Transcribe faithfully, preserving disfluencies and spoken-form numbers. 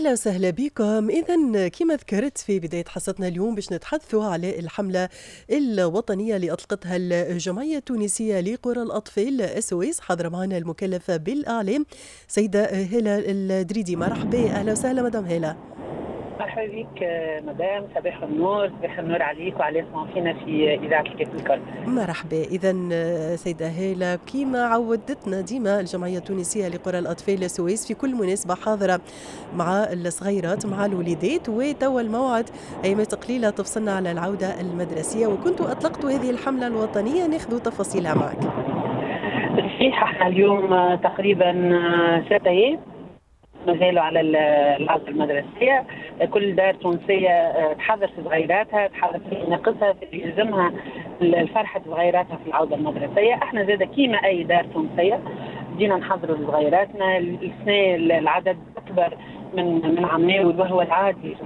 اهلا وسهلا بكم. اذا كما ذكرت في بداية حصتنا اليوم، باش نتحدثوا على الحملة الوطنية اللي اطلقتها الجمعية التونسية لقرى الاطفال SOS. حاضره معنا المكلفه بالاعلام سيده هالة الدريدي. مرحبا، اهلا وسهلا مدام هالة. مرحبا بك مدام، صباح النور، صباح النور عليك وعلى يسمعوا فينا في اذاعة الكاف الكل. مرحبا. اذا سيده هاله، كما عودتنا ديما الجمعية التونسية لقرى الاطفال SOS في كل مناسبة حاضره مع الصغيرات، مع الوليدات، وتوا الموعد ايامات قليله تفصلنا على العودة المدرسيه، وكنتوا اطلقتوا هذه الحملة الوطنيه، ناخذ تفاصيلها معك. صحيح، احنا اليوم تقريبا ستة ايام مازالوا على العودة المدرسية. كل دار تونسية آه، تحضر في صغيراتها، تحضر في ناقصها، في يلزمها الفرحة صغيراتها في العودة المدرسية. احنا زاد كيما أي دار تونسية بدينا نحضروا لصغيراتنا. السنة العدد أكبر من من عام، وهو العادي.